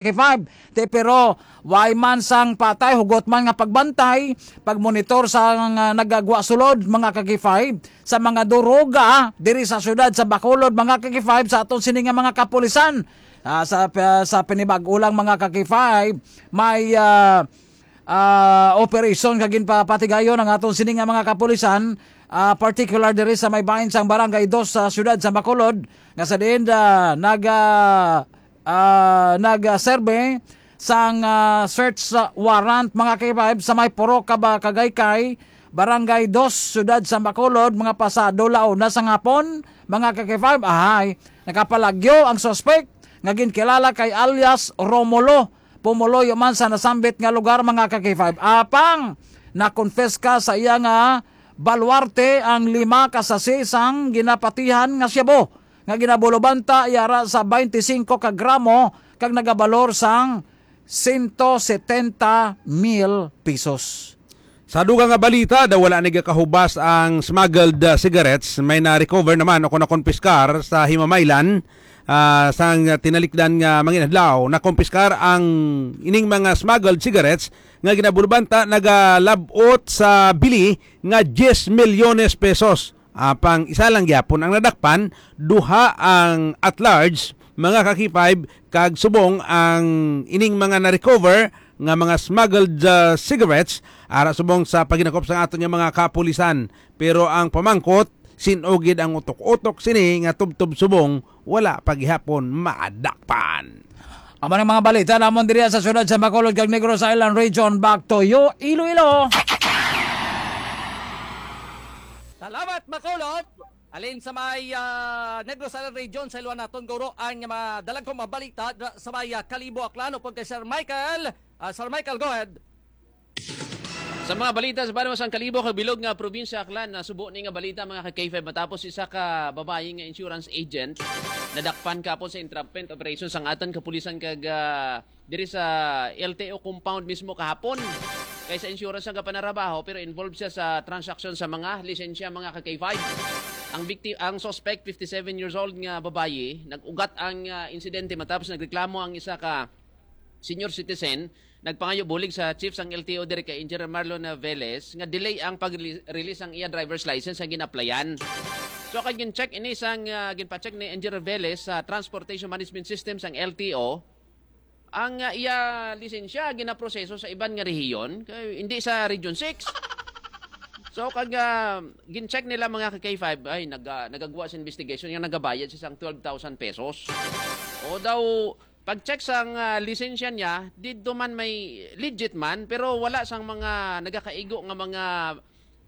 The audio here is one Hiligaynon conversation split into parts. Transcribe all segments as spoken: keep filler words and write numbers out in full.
K five. Te, pero way man sang patay, hugot man nga pagbantay, pagmonitor sa nga nagagwa sulod, mga ka-K five, sa mga duruga diri sa siyudad sa Bacolod, mga ka-K five, sa aton sini nga mga kapulisan. Ah, sa, sa pinibag-o lang, mga ka-K five, may, ah, ah, operation nga ginpapatigayon ang aton sini nga mga kapulisan, ah, particular diri sa may bahin sang Barangay Dos sa siyudad sa Bacolod, nga sa diin, ah, nag, ah, ah, nag-survey sang, ah, search warrant, mga K five, sa may Purok Kaba-, Kagaykay, Barangay Dos, Siyudad sa Bacolod, mga pasado la una sang hapon, mga ka-K five, ahay, nakapalagyo ang suspek nga ginkilala kay alias Romulo, pumuluyo man sa nasambit nga lugar, mga ka-K five. Apang nakonfiska sa iya nga baluarte ang lima ka sachet sang ginapatihan nga shabu nga ginabulobanta yara sa twenty-five ka gramo kag nagabalor sang sento setenta mil pesos. Sa dugang nga balita, daw wala nagakahubas ang smuggled, uh, cigarettes. May na-recover naman o kung nakonpiskar sa Himamaylan, ah, sang tinalikdan nga mga inadlaw. Nakonpiskar ang ining mga smuggled cigarettes nga ginabulbanta nagalabot sa bili nga diyes milyones pesos. Apang isa lang gyapon ang nadakpan, duha ang at large, mga ka-K five, kag subong ang ining mga na-recover nga mga smuggled, uh, cigarettes, ara subong sa paghinakop sa aton nga mga kapulisan. Pero ang pamangkot, sin-o gid ang utok-utok sini nga tubtob subong wala pa gihapon madakpan. Amo ang mga balita namon diri sa siyudad sa Bacolod kag Negros Island Region. Back to you, Iloilo. Salamat, Bacolod. Alin sa may, ah, Negros Island Region, sa iluan naton, guro, ang mga dalagkong mga balita da-, sa may, ah, Kalibo, Aklan, upod kay Sir Michael. Ah, Sir Michael, go ahead. Sa mga balita sa banwa sang Kalibo kag bilog nga probinsya Aklan, nasubo ni nga balita, mga ka-K five, matapos isa ka babayi nga insurance agent nadakpan kapon sa entrapment operation sang aton kapulisan kag, ah, diri sa L T O compound mismo kahapon. Kay sa insurance ang kapanarabaho, pero involved siya sa transaksyon sa mga lisensya, mga ka-K five. Ang bikti-, ang suspect, fifty-seven years old nga babayi, nag-ugat ang, ah, insidente matapos nagreklamo ang isa ka senior citizen, nagpangayo bulig sa chief sang L T O diri kay Engineer Marlon Velez nga delay ang pag-release sang iya driver's license nga gin-applyan. So, kag gin-check ini sang, ah, ginpa-check ni Engineer Velez sa Transportation Management System sang L T O, ang, ah, iya lisensya ginaproseso sa iban nga rehiyon, kay hindi sa Region six. So, kag, ah, gin-check nila, mga ka-K five, ay, nag-, ah, nagagwa sa investigation nga nagabayad siya sang twelve thousand pesos. O daw, pag-check sang, ah, lisensya niya, didto man may legit man, pero wala sang mga nagakaigo nga mga,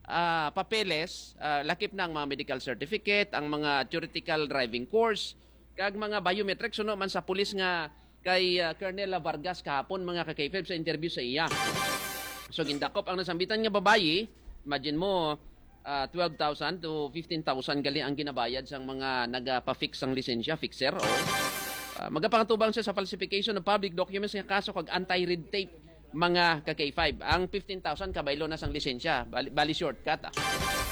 ah, papeles, ah, lakip na ang mga medical certificate, ang mga theoretical driving course, kag mga biometrics, suno man sa pulis nga kay, ah, Colonel Vargas kahapon, mga ka-K five, sa interview sa iya. So, gindakop ang nasambitan nga babayi. Imagine mo, ah, twelve thousand to fifteen thousand gali ang ginabayad sang mga nagapa-fix sang lisensya, fixer, o. Ah, magapangatubang siya sa falsification of public documents nga kaso kag anti-red tape, mga ka-K five. Ang fifteen thousand kabaylo na sang lisensya, bali, bali shortcut, ah.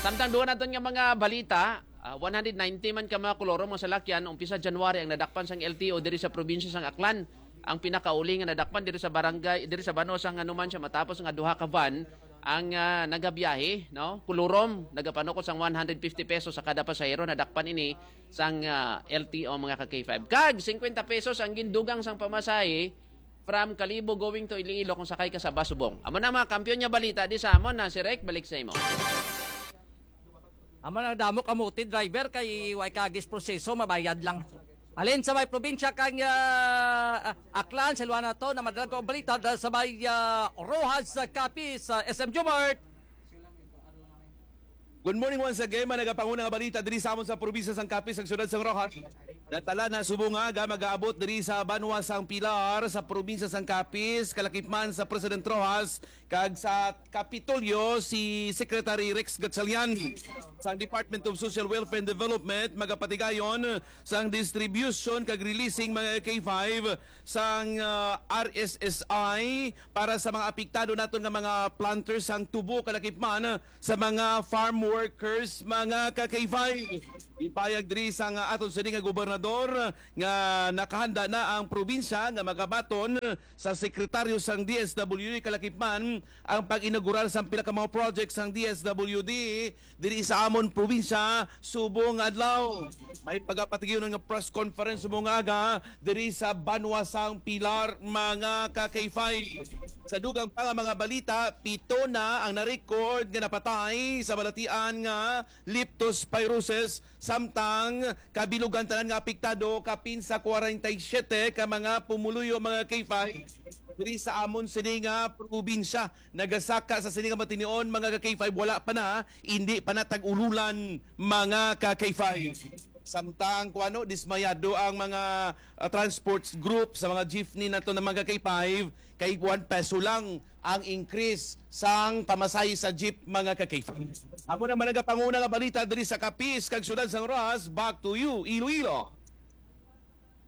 Samtang duha naton nga mga balita, ah, one hundred ninety man ka mga kolorom nga salakyan umpisa January ang nadakpan sang L T O diri sa probinsya sang Aklan. Ang pinakauli nga nadakpan diri sa barangay, diri sa banwa sang Hanuman siya matapos nga duha ka van ang, ah, nagabiyahe, no? Kulurom, nagapanukot sang one hundred fifty pesos sa kada pasahero, nadakpan ini sang, ah, L T O, mga ka-K five. Kag fifty pesos ang gindugang sang pamasahe from Kalibo going to Iloilo kung sakay ka sa bus subong. Amo na mga kampiyon nga balita di sa amon na si Rek, balik sa imo. Amo na damo kamuti driver kay way kagis proseso, mabayad lang. Alin sa may probinsya kang, ah, Aklan, sa luwa na to, na madalag ko ang balita dahil sa may, ah, Rojas, ah, Capiz, ah, S M Jumart. Good morning once again, mga nagapanguna nga balita diri sa amon sa probinsya sang Capiz, sa siyudad sang Rojas. Natala na subong nga aga, mag-aabot diri sa banwa sang Pilar, sa probinsya sang Capiz, kalakip man sa President Rojas, kag sa Kapitolyo si Secretary Rex Gatchalian sang Department of Social Welfare and Development, magapatigayon sang distribution kag releasing, mga K five, sang, ah, R S S I para sa mga apektado naton nga mga planters sang tubo, kalakip man sa mga farm workers, mga ka-K five. Ipahayag diri sang aton sini nga gobernador nga nakahanda na ang probinsya nga magabaton sa sekretaryo sang D S W D kalakip man ang pag-inaugurar sang pila ka mga project sang D S W D diri sa amon probinsya subong nga adlaw. May pagapatigyon nga press conference subong nga aga diri sa Banwa sang Pilar, mga ka-K five. Sa dugang pa nga mga balita, pito na ang na-record nga napatay sa balatian nga leptospirosis, samtang kabilugan tanan nga apektado kapin sa kwarenta y siyete ka mga pumuluyo, mga K five, diri sa amon sini nga probinsya. Nagasaka sa sini nga matinion, mga ka-K five, wala pa na, hindi pa na tag-ululan, mga ka-K five. Samtang kuno dismayado ang mga ah, transport group sa mga jeepney nato na mga ka-K five, kay one peso lang ang increase sang pamasahe sa jeep, mga ka-K five. Amo na man nagapanguna nga balita diri sa Capiz kag siyudad sang Roxas. Back to you, Iloilo.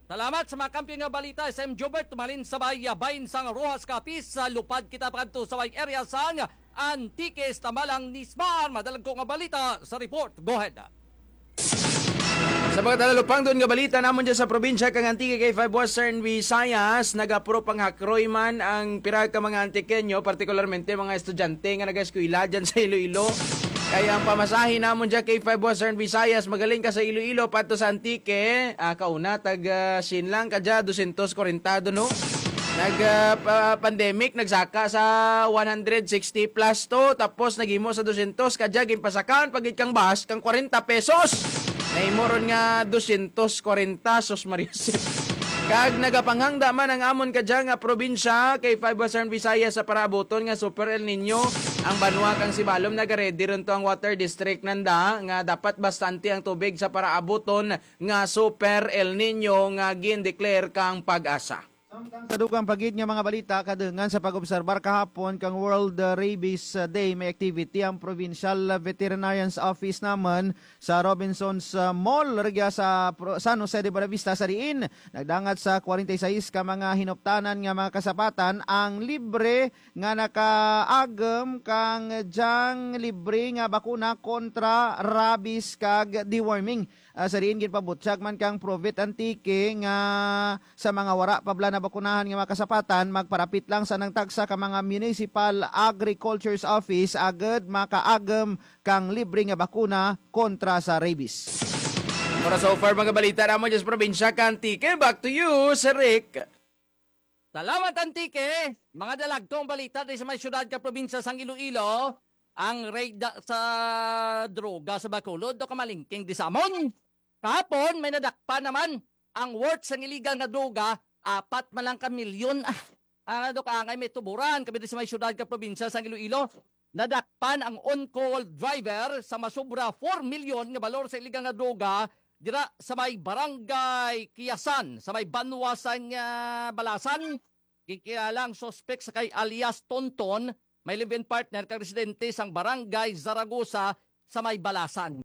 Salamat sa mga kampiyon nga balita, S M Jobert. Tumalin sa bay, bahin sang Roxas, Capiz. Sa lupad kita pakadto sa bay area sang Antique, Tamalang, Nismar. Madalagko nga balita sa report. Go ahead. Sa mga talalupangdon nga balita namon dyan sa probinsya kang Antique, K five Western Visayas, nagapro panghakroy man ang pira ka mga Antiqueño, partikularmente mga estudyante nga nag-eskwela dyan sa Iloilo. Kaya ang pamasahe namon dyan, K five Western Visayas, magaling ka sa Iloilo pato sa Antique, ah, kauna, tag, ah, siyam lang, kadya, dosyentos kwarenta, no? Nag, ah, pa-, pandemic, nagsaka sa one hundred sixty plus to, tapos naghimo sa dosyentos, kadya, ginpasakaan pa gid kang bus, kang kwarenta pesos. Nahimo ron nga dosyentos kwarenta, sus Maria. Kag nagapanghangda man ang amon kadya nga probinsya, K five Western Visayas, sa paraabuton nga Super El Nino, ang banwa kang Sibalom nagaready ron to ang water district nanda nga dapat bastante ang tubig sa paraabuton nga Super El Nino nga gin-declare kang PAGASA. Sa dugang pa gid nga mga balita, kadungan sa pag-obserbar kahapon kang World, uh, Rabies, uh, Day, may activity ang Provincial Veterinarian's Office naman sa Robinsons, uh, Mall, rugya sa Pro-, San Jose de Buenavista, sa diin nagdangat sa kwarenta y seis ka mga hinuptanan nga mga kasapatan ang libre nga nakaagom kang dyang libre nga bakuna kontra rabies kag deworming. Ah, sa diin ginpabutyag man kang Provet Antique nga sa mga wara pa bala nabakunahan nga mga kasapatan, magparapit lang sa nang tagsa ka mga municipal agriculture's office agud makaagom kang libre nga bakuna kontra sa rabies. Para so far, mga balita namon dyan sa probinsya ka Antique. Back to you, Sir Rick. Salamat, Antique. Mga dalagtong balita diri sa may siyudad ka probinsya sang Iloilo, ang raid da-, sa droga sa Bacolod, do kamalingking di sa amon. Kahapon, may nadakpan naman ang worth sang illegal nga droga, apat man lang ka milyon. Ah, ang ano ka, angay may tuburan, kami diri sa may siyudad ka probinsya sang Iloilo. Nadakpan ang on-call driver sa masubra four million nga balor sa illegal nga droga dira sa may barangay Kiyasan, sa may banwa sang, ah, Balasan. Ginkilala ang suspek sa kay alias Tonton, may live-in partner kag residente sang barangay Zaragoza sa may Balasan.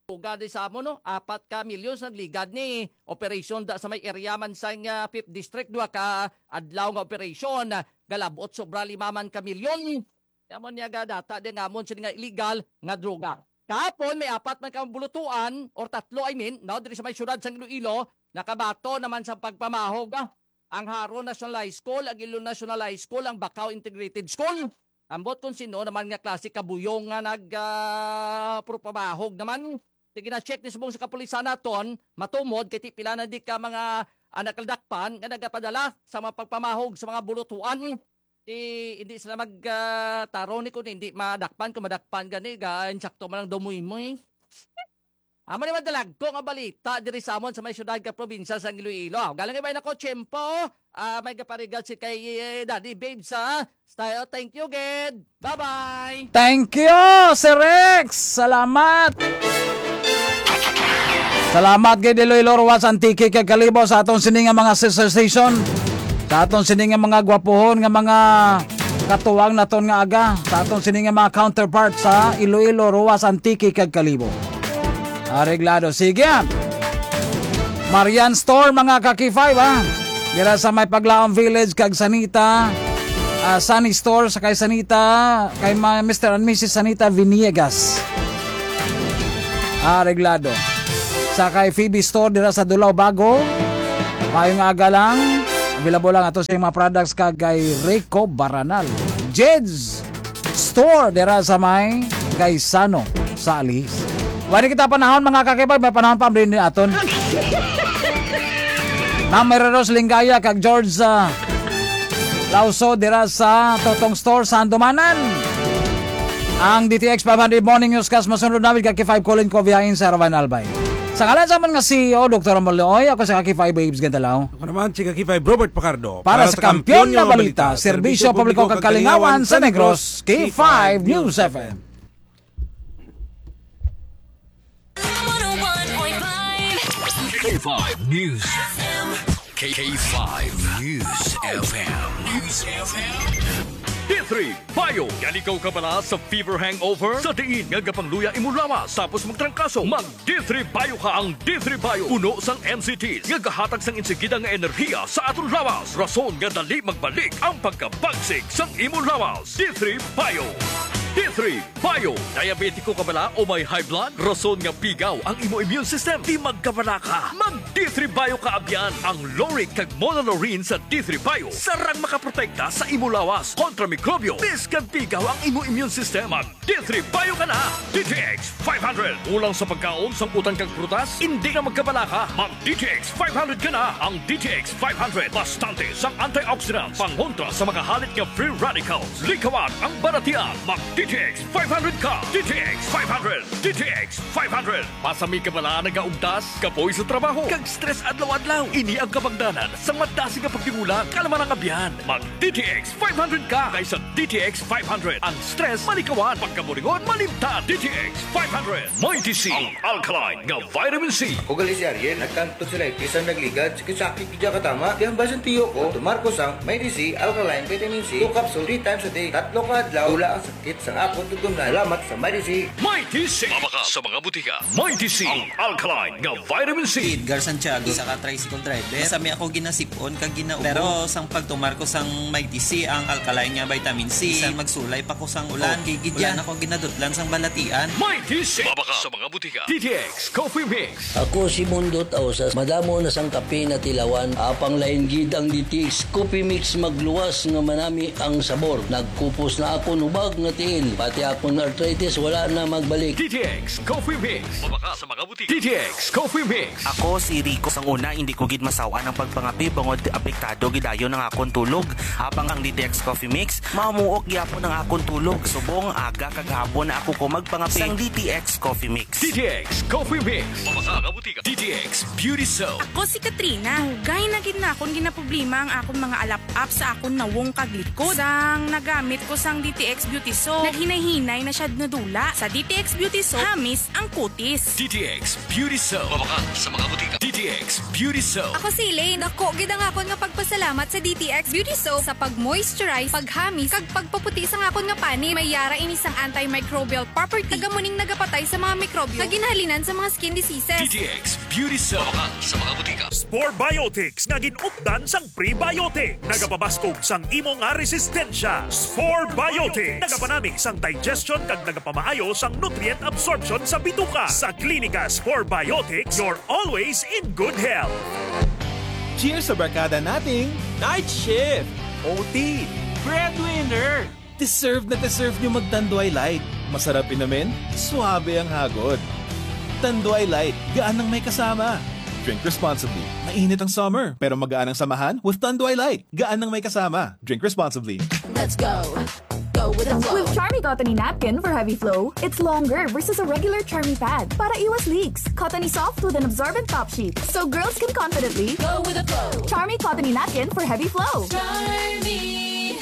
Droga di sa amo, no? Apat ka milyon sa nagligad ni operation da sa may area man sang, ah, Fifth District, duha ka adlaw nga operation, ah, galabot sobra lima man ka milyon. Amo niya ga data di nga amon sini nga illegal nga droga. Kahapon may apat man ka bulutuan or tatlo, I mean, no, diri sa may siyudad sang Iloilo, nakabaton naman sa pagpamahog, ah, ang Jaro National High School, ang Iloilo National High School, ang Bacao Integrated School. Ambot kung sino naman nga klase kabuyong nga nag, ah, purpamahog naman. Sige na, check ni subong sa kapulisan naton, matumod kay ti pila na di ka mga, ah, nagkaldakpan nga nagapadala sa mga pagpamahog sa mga bulutuan. Di, hindi sila mag, ah, tarong ni kung hindi madakpan, kung madakpan gani, ga, insakto man lang dumoy-moy. Amo ni madalagko nga balita diri sa amon sa may siyudad ka probinsya sang Iloilo. Galang ibay nako, tiyempo. Ah, may gaparigad si kay, eh, Daddy Babe sa style. Thank you, gid. Bye-bye. Thank you, Sir Rex. Salamat. Salamat gid, Iloilo, Roxas, Antique kag Kalibo, sa aton sini nga mga sister station. Sa aton sini nga mga gwapuhon nga mga katuwang naton nga aga. Sa aton sini nga mga counterpart sa Iloilo, Roxas, Antique kag Kalibo. Areglado. Sige. Marian Store, mga ka-K five, ha? Dira sa may Paglaom Village kag Sanita, ah, Sunny Store sa kay Sanita, kay ma-, Mister and Missus Sanita Viniegas. areglado. Sa kay Phoebe Store dira sa Dulao Bago, maayong aga lang. Available lang ato sa mga products kag kay Rico Baranal. Jed's Store dira sa may Gaisano sa Alis. Wala kita panahon, mga kakipay, may panahon pa din aton. Ma'am Mary Rose Lingaya kag George, ah, Lauso dira sa Totong Store sa Andumanan. Ang D T X five hundred Morning Newscast masunod namin kag K five Colin Cobiain sa Rawan Albay. Sa ngalan sa man nga C E O, Doktor Amol Leoy, ako sa K five Babes Gandalaw. Ako naman si K five Robert Pacardo. Para sa Kampiyon na Balita, Serbisyo Publiko kag Kalingawan sa Negros, K five News F M. K five News. K five News F M. News F M. D three Bio. Yan ikaw kabala sa fever hangover? Sa diin nga gapangluya imo lawas tapos magtrangkaso, mag D three Bio ka. Ang D three Bio puno sang N C Ts nga gahatag sang insigida nga enerhiya sa aton lawas, rason nga dali magbalik ang pagkabagsik sang imo lawas. D three Bio. D three Bio. Diabetiko ka bala o may high blood? Rason nga pigaw ang imo immune system. Di magkabala ka. Mag D three Bio ka abyan. Ang lauric kag monolaurin sa D three Bio sarang makaprotekta sa imo lawas kontra mikrobyo. Bisan pigaw ang imo immune system, mag D three Bio ka na. D T X five hundred. Kulang sa pagkaon, sangkutan kag prutas? Indi na magkabala ka. Mag D T X five hundred ka na. Ang D T X five hundred bastante sang antioxidants pangontra sa mga halit nga free radicals. Likawan ang balatian. Mag D T X five hundred ka. D T X five hundred. D T X five hundred. Masami ka bala nagaugtas, kapoy sa trabaho, kag stress adlaw-adlaw? Ini ang kabangdanan sang madasig nga pagtimulang. Kalma lang abyan. Mag D T X five hundred ka. Kay sa D T X five hundred, ang stress malikawan, pagkaburingon malimtan. D T X five hundred. Mighty C, ang alkaline nga vitamin C. Ako gali si Ariel, nagkantod sila itis ang nagligad, sakit-sakit gid katama. Di ang basin tiyo ko, tumar ko sang Mighty C Alkaline Vitamin C, two capsule, three times a day, tatlo ka adlaw, wala ang sakit sang akon tutunlan. Salamat sa Mighty C. Mighty C. Mabaka sa mga butika. Mighty C, ang alkaline nga vitamin C. Edgar Santiago, isa ka tricycle driver. Masami ako ginasipon kag ginaubo. Pero sang pagtumar ko sang Mighty C, ang alkaline nga vitamin C, bisan magsulay pa ko sang ulan, okay gid yan. Wala na ko ginadutlan sang balatian. Mighty C. Mabaka sa mga butika. D T X Coffee Mix. Ako si Mundo Tausas. Madamo na sang kape na tilawan. Apang lain gid ang D T X Coffee Mix, magluwas nga manami ang sabor. Nagkupos na akon hubag nga tiil. Pati akon arthritis wala na magbalik. D T X Coffee Mix. Mabaka sa mga butika. D T X Coffee Mix. Ako si Rico. Sang una, hindi ko gid masaw-an ang pagpangape bangod apektado gid dayon ang akon tulog. Apang ang D T X Coffee Mix, mamuok gyapon ang akon tulog. Subong aga kag hapon na ako ko magpangape. Sang D T X Coffee Mix. D T X Coffee Mix. Mabaka nga butika. D T X Beauty Soap. Ako si Katrina. Dugay na gid na akon ginaproblema ang akon mga alap-ap sa akon nawong kag likod. Sang nagamit ko sang D T X Beauty Soap, naghinay-hinay na siya nadula. Sa D T X Beauty Soap, hamis ang kutis. D T X Beauty Soap. Mabaka sa mga butika. D T X Beauty Soap. Ako si Elaine. Dako gid ang akon nga pagpasalamat sa D T X Beauty Soap sa pag-moisturize, paghamis, kag pagpaputi sang akon nga panit. May yara ini sang antimicrobial property. Taga mo ning nagapatay sa mga mikrobyo nga ginahalinan sa mga skin diseases. D T X Beauty Soap. Mabaka sa mga butika. Spore Biotics nga gin-updan sang prebiotic. Nagapabaskog sang imo nga resistensya. Spore Biotics. Nagapanami sang digestion kag nagapamaayo sang nutrient absorption sa bituka. Sa Klinika Spore Biotics, you're always in good health. Cheers sa barkada nating Night Shift, O T, Breadwinner. Deserve na deserve nyo mag Tanduay Light. Masarap inumin, suabe ang hagod. Tanduay Light, gaan ang may kasama. Drink responsibly. Mainit ang summer, pero magaan ang samahan with Tanduay Light. Gaan ang may kasama. Drink responsibly. Let's go. Go with the flow. With Charmy Cottony Napkin for heavy flow, it's longer versus a regular Charmy pad para iwas leaks. Cottony soft with an absorbent top sheet, so girls can confidently go with the flow. Charmy Cottony Napkin for heavy flow. Charmy.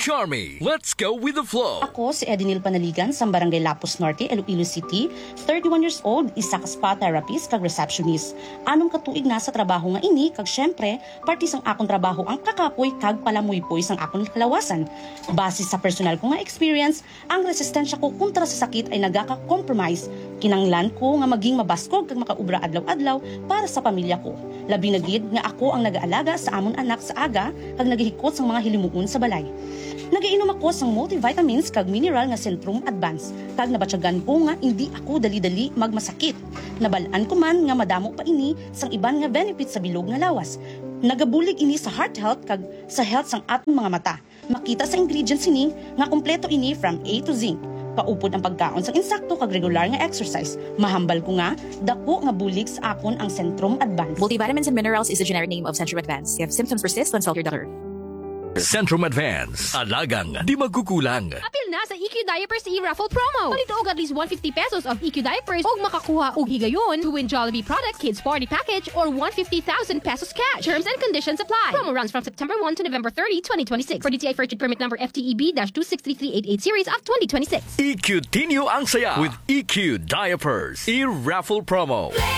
Charmy, let's go with the flow. Ako si Edinil Panaligan sang Barangay Lapuz Norte, Iloilo City, thirty-one years old, isa ka spa therapist kag receptionist. Anom ka tuig na sa trabaho nga ini, kag syempre, parte sang akon trabaho ang kakapoy kag palamuypoy sang akon kalawasan. Base sa personal ko nga experience, ang resistensya ko kontra sa sakit ay nagaka-compromise. Kinanglan ko nga maging mabaskog kag makaobra adlaw-adlaw para sa pamilya ko. Labi na gid nga ako ang nagaalaga sa amon anak sa aga kag nagahikot sang mga hilimuon sa balay. Nagainom ako sang multivitamins kag mineral nga Centrum Advance, kag nabatyagan ko nga indi ako dali-dali magmasakit. Nabal-an ko man nga madamo pa ini sang iban nga benefits sa bilog nga lawas. Nagabulig ini sa heart health kag sa health sang aton mga mata. Makita sa ingredients sini nga kompleto ini from A to Z. Kaupod ang pagkaon sang insakto kag regular nga exercise. Mahambal ko nga dako nga bulig sa akon ang Centrum Advance. Multivitamins and minerals is the generic name of Centrum Advance. If symptoms persist, consult your doctor. Centrum Advance. Alagang di magkukulang. Apil na sa E Q Diapers e-raffle promo. Palito og at least one fifty pesos of E Q diapers ug makakuha og higayon to win Jollibee product, kids party package, or one fifty thousand pesos cash. Terms and conditions apply. Promo runs from September one to November thirty, twenty twenty-six. For D T I furniture permit number F T E B dash two six three three eight eight series of twenty twenty-six. E Q Tinyo ang saya with E Q Diapers. E-raffle promo.